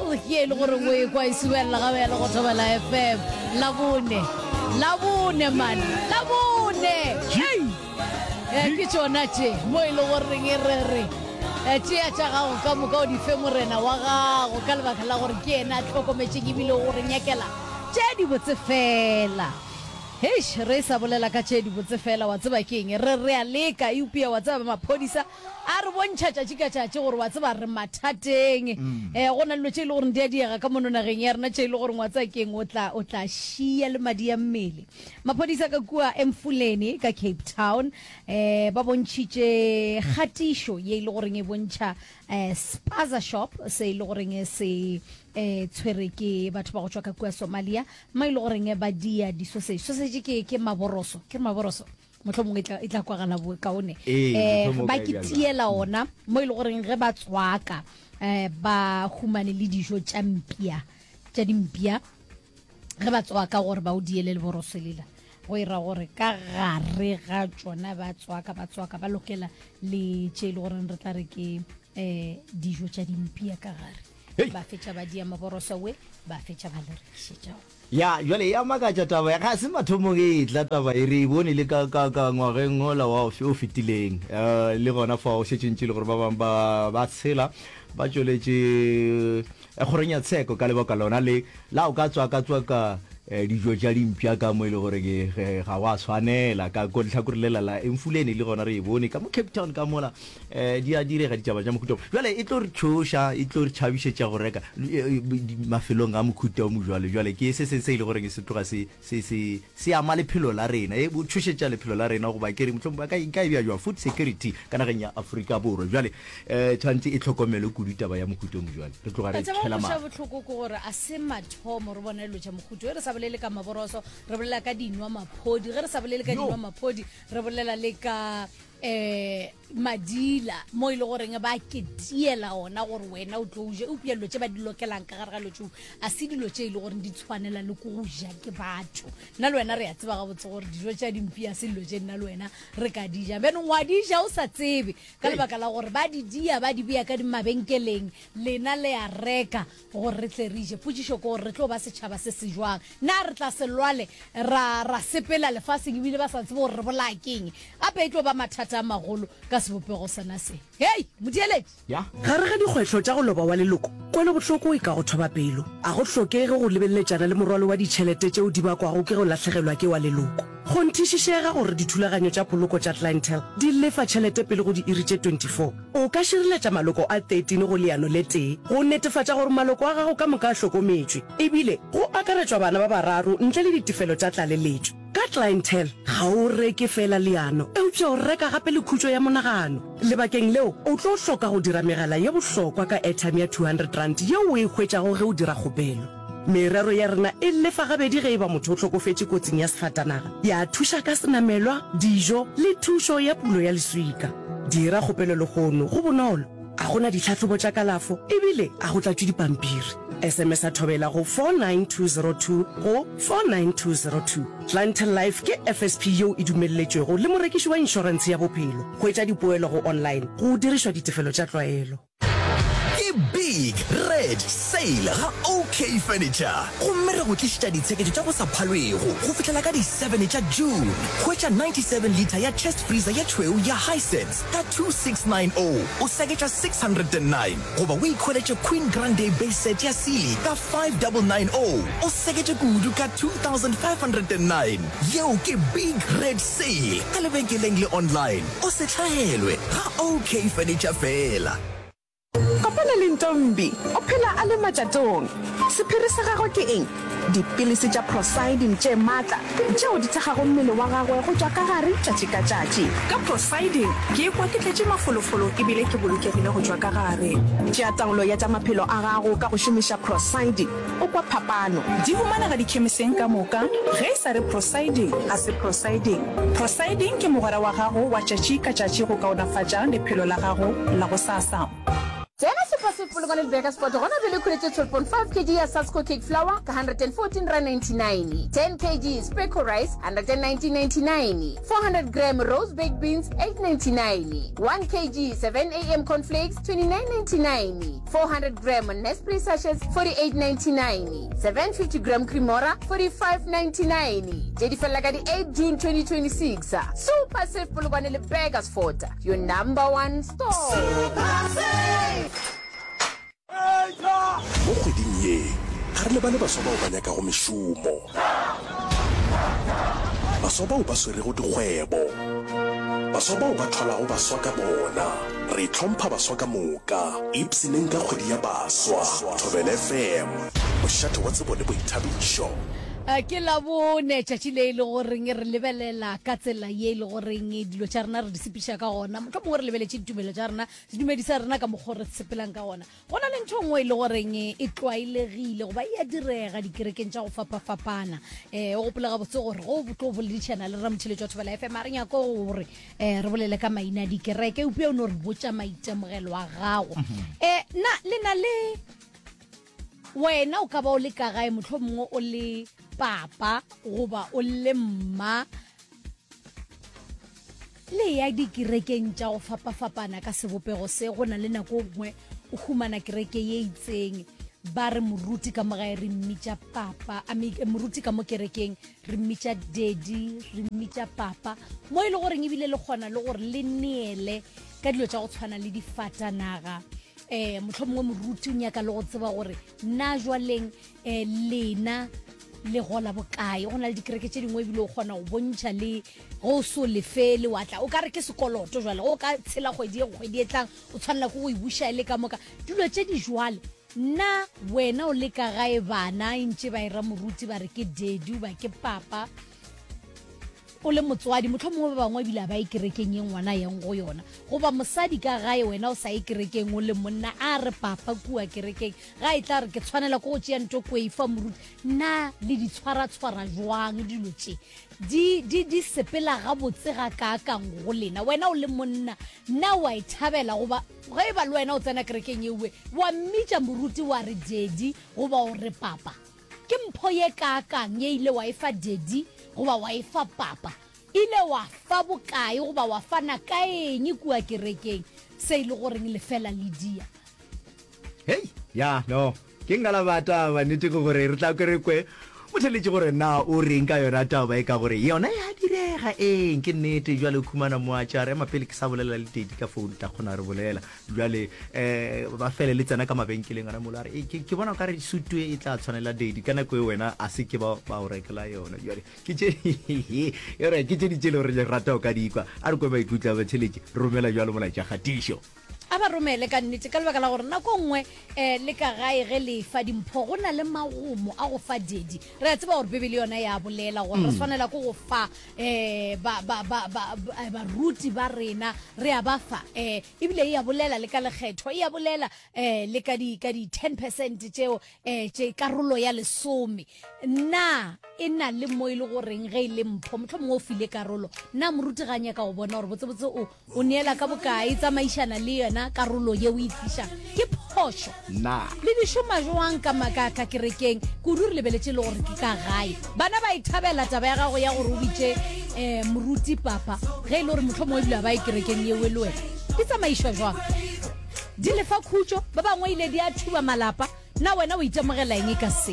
Ke e le gore o e kwa e subelela ga bjale go Thobela FM. Labone. Labone man. Labone. Hey. Eh, ke tšona tše mo e le goreng e re re eh, tšea tša gago ka moka o di fe morena wa gago ka lebaka la gore ke yena a hlokometšeng ebile o re nyakela tše dibotse fela. Heish, re sa bolela ka tše dibotse fela, wa tseba ke eng? Re re a leka, eupša wa tseba maphodisa a re bontšha tšatši ka tšatši gore wa tseba re mathateng. Um go na le dilo tše e le goreng di a diega ka mono nageng ya rena tše e le goreng wa tseba ke eng o tla o tla šia le madi a mmele. Maphodisa ka kua Emfuleni ka Cape Town um ba bontšhitše kgatišo ye e le goreng e bontšha um spaza shop se e le goreng se um tshwere ke batho ba go tšwa ka kua Somalia Mo e le goreng ba dia di-sausage. Sausage ke, ke maboroso, ke re maboroso? Mohlomongwe e tla, e tla kwagala bokaone. Ee, Eh, mohlomongwe o ba ka e ke bea bjalo. tiela ona mo e le goreng ge ba tswaka eh, ba humane le dijo tša mpia, tša dimpia ge ba tswaka gore ba o diele leboroso lela go ira gore ka gare ga tšona ba tswaka ba tswaka ba lokela le tše e le goreng re tla re ke um dijo tša dimpia ka gare Hei! Ba fetša ba dia maboroso we, ba fetša ba le rekišetša ona. Ya, bjale ya makatša taba ya, ga se mathomong e etla taba e, re e bone le ka, ka, ka ngwageng ola wa o fetileng. Uh, le gona fao šetše ntše le gore ba bangwe ba, ba tshela ba tšweletše eh, kgorong ya tsheko ka lebaka lona le la o ka tswaka-tswaka eh, dijo tša dimpša ka mo e le gore ke ge ga wa swanela ka ko lehlakore lela la Emfuleni le gona re e bone ka mo Cape Town ka mola Eh, di a direga ditaba tša mohuta bjale e tlo re tšhoša e tlo re tšhabišetša go reka eh, mafelong a mohuta o mojwalo jwale ke se seng se e le goreng se tloga se se se se ama lephelo la rena e bo tšhošetša lephelo la rena goba ke re mohlomong ba ka nka e bja jwa food security ka nageng ya Afrika Borwa jwale eh tshwanetse e tlhokomelwe kudu taba ya mohuta o mojwalo re tloga re Taba tshela go mahlo bohloko ke gore a se mathomo re bona dilo tša mohuta ge re sa bolele ka maboroso re bolela ka dinwa maphodi ge re sa bolele ka Yo. dinwa maphodi re bolela le ka um madila mo e le goreng ba ketiela ona gore wena o tlo o je eupša dilo tše ba di lokelang ka gare ga dilo tšeo a se dilo tše e le goreng di tshwanela le ko go ja ke batho nna le wena re a tseba gabotse gore dijo tša dimpi a se dilo tše nna le wena re ka di ja bjanong wa di ja o sa tsebe ka lebaka la gore ba di dia ba di bea ka dimabenkeleng lena le a reka gore re tle re je. Potšišo ke gore re tlo ba setšhaba se se jwang? Na re tla se lwale ra, ra sepela lefaseng ebile ba sa tsebe gore re bolaya keng? Gape e tlo ba mathata a magolo ka sebopego sona se. Hei, motheeletši! Ya. Gare ga dikgwehlo tša go loba wa leloko, kwelobohloko e ka go thoba pelo. A go hlokege go lebeletšana le morwalo wa ditšhelete tšeo di bakwago ke go lahlegelwa ke wa leloko. Kgonthišišega gore dithulaganyo tša poloko tša Clientele di lefa tšhelete pele go diiri tše 24. O ka šireletša maloko a 13 go leano le tee go netefatša gore maloko a gago ka moka a hlokometšwe, ebile go akaretšwa bana ba bararo ntle le ditefelo tša tlaleletšo. Ka Clientele, ga o reke feela leano, eupša o reka gape le khutšo ya monagano. Lebakeng leo, o tlo hloka go dira megala ye bohlokwa ka airtime ya R200 yeo o e hwetšago ge o dira kgopelo. Merero ya rena e lefa gabedi ge e ba motho o hlokofetše kotsing ya sefatanaga, ya thuša ka senamelwa, dijo le thušo ya pulo ya leswika. Dira kgopelo lehono, go bonolo, ga go na ditlhahlobo tša kalafo e bile ga go tlatšwe dipampiri. SMS-a Thobela go 49202 go 49202. Clientele Life ke FSP yeo e dumelletšwego le morekiši wa inšorentshe ya bophelo. Hwetša dipoelo go online go dirišwa ditefelo tša tlwaelo. Ke Big Red Sale ga OK Furniture gomme re go tlišetša ditsheketšo tša go sa phalwego go fihlela ka di 7 tša June. Hwetša 97 litre ya chest freezer ye tšhweu ya Hisense ka 2690 o seketša 609 goba o ikhweletše Queen Grande base set ya Sealy ka 5990 o seketše kudu ka 2509. Yeo ke Big Red Sale ka lebenkeleng le online. O se hlaelwe ga OK Furniture feela. Kopana le Ntombi, o phela a le matšatong. Sephiri sa gagwe ke eng? Dipilisi tša Procyldin tše matla tšeo di thekgago mmele wa gagwe go tšwa ka gare tšatši ka tšatši. Ka Procyldin, ke ikwa ke tletše mafolofolo e bile ke bolokegile go tšwa ka gare. Tšea taolo ya tša maphelo a gago ka go šomiša Procyldin. O kwa phapano. Di humanega dikhemiseng ka moka. Ge e sa re Procyldin, ga se Procyldin. Procyldin ke mogwera wa gago wa tšatši ka tšatši go kaonafatša lephelo la gago la gosasa. Tsena sehlopha. Save Polokwane le Burgersfort gona bjale khweletše 12.5 kg ya Sasko cake flour ka R114.99, 10 kg Speco rice R119.99, 400 gram Rose baked beans R8.99, 1 kg 7am cornflakes R29.99, 400 gram Nespre sachets R48.99, 750 gram Cremora R45.99. Tše di felela ka di 8 June 2026. Super Save Polokwane le Burgersfort. Your number one store. Mo kgweding ye, ga re lebale baswa bao ba nyakago mešomo, baswa bao ba swerego dikgwebo, baswa bao ba thwalago baswa ka bona. Re hlompha baswa ka moka. Ipshineng ka kgwedi ya baswa. Thobela FM, mošate wa tsebo le boithabišo. Ke Labone, tšatši le e le goreng re lebelela ka tsela ye e le goreng dilo tša rena re di sepiša ka gona. Mohlomongwe re lebeletše ditumelo tša rena, sedumedi sa rena ka mokgwa o re sepelang ka gona. Go na le ntho nngwe e le goreng e tlwaelegile goba e a direga dikerekeng tša go fapafapana. Um o gopole gabotse gore go tlo boledišana le ramotheletši wa Thobela FM a re nyako gore um re bolele ka maina a dikereke, eupša o no re botša maitemogelo a gago. Um na le na le Wena o ka ba o le ka gae, mohlomongwe o le papa goba o le mma, le ya dikerekeng tša go fapafapana ka sebopego se. Go na le nako nngwe o humana kereke ye itseng, ba re moruti ka mo gae re mmitša papa, I mean, moruti ka mo kerekeng re mmitša daddy, re mmitša papa, mo e le goreng ebile le kgona le gore le neele ka dilo tša go tshwana le difatanaga. um mohlomongwe moruti o nyaka le go tseba gore na jwaleng um lena le gola bokae. Go na le dikereke tše dingwe ebile o kgona go bontšha le go o so lefele wa tla o ka re ke sekoloto jwale go ka tshela kgwedi e kgwedi e tlang o tshwanela ke go e buša e le ka moka dilo tše di jwale. Na wena o le ka gae bana e ntše ba era moruti ba re ke daddy ba ke papa O le motswadi, mohlomongwe ba bangwe ebile a ba ye kerekeng ye ngwana a yang go yona. Goba mosadi ka gae, wena o sa ye kerekeng, o le monna, a re papa kua kerekeng, ga e tla re ke tshwanela ke go tšea nto ko e fa moruti. Na le di tshwaratshwara jwang dilo tše? Di, di, di sepela gabotse gakaakang go lena? Wena o le monna, na o a e thabela? Goba ge e ba le wena o tsena kerekeng yeue, wa mmitša moruti wa re daddy goba o re papa? Ke mpho ye kaakang ye ile wa e fa daddy goba wa e fa papa? Ile wa fa bokae goba wa fana ka eng kua kerekeng se e le goreng lefela le dia? Hei, ya, no. Ke nka la ba taba, nnete ke gore re tla ke re kwe motheletši gore na o reng ka yona taba e ka gore yona ya direga eng ke nnete jwale o khumana moatšare ema pele ke sa bolela le tedi ka phone tla kgona re bolela Bjale um ba fele le tsena ka mabenkeleng gona mola re ke, ke bona o ka re sutu e tla tshwanela daddy ka nako e wena a se ke ba ba o rekela yona. Bjale ke tše e re ke tše di tše le gore le rata o ka di kwa. A re kwe maikutlo a batheletši, romela bjalo molaetša kgatišo. A ba romele ka nnete ka lebaka la gore nako nngwe um le ka gae ge le fa dimpho go na le magomo a go fa daddy. Re a tseba gore Bibele yona ya bolela gore re swanela ke go fa um ba, ba, ba, ba, baruti ba rena, re a ba fa um Ebile e a bolela le ka lekgetho, e a bolela um le ka di, ka di 10 percent tšeo um tše karolo ya lesome. Na e na le mo e le goreng ge e le mpho, mohlomongwe o file karolo, na moruti ga a nyaka go bona gore botsebotse o, o neela ka bokae, tsamaišana le yona karolo ye o e tlišang? Ke phošo. Na. Le di šoma jwang ka, ka, ka kerekeng? Kudu re lebeletše le gore ke ka gae. Bana ba e thabela taba ya gago ya gore o bitše um moruti papa, ge e le gore mohlomongwe ebile ga ba ye kerekeng yeo le wena. Di tsamaišwa jwang? Di lefa khutšo, ba bangwe ile di a thuba malapa. Na wena o itemogela eng ka se?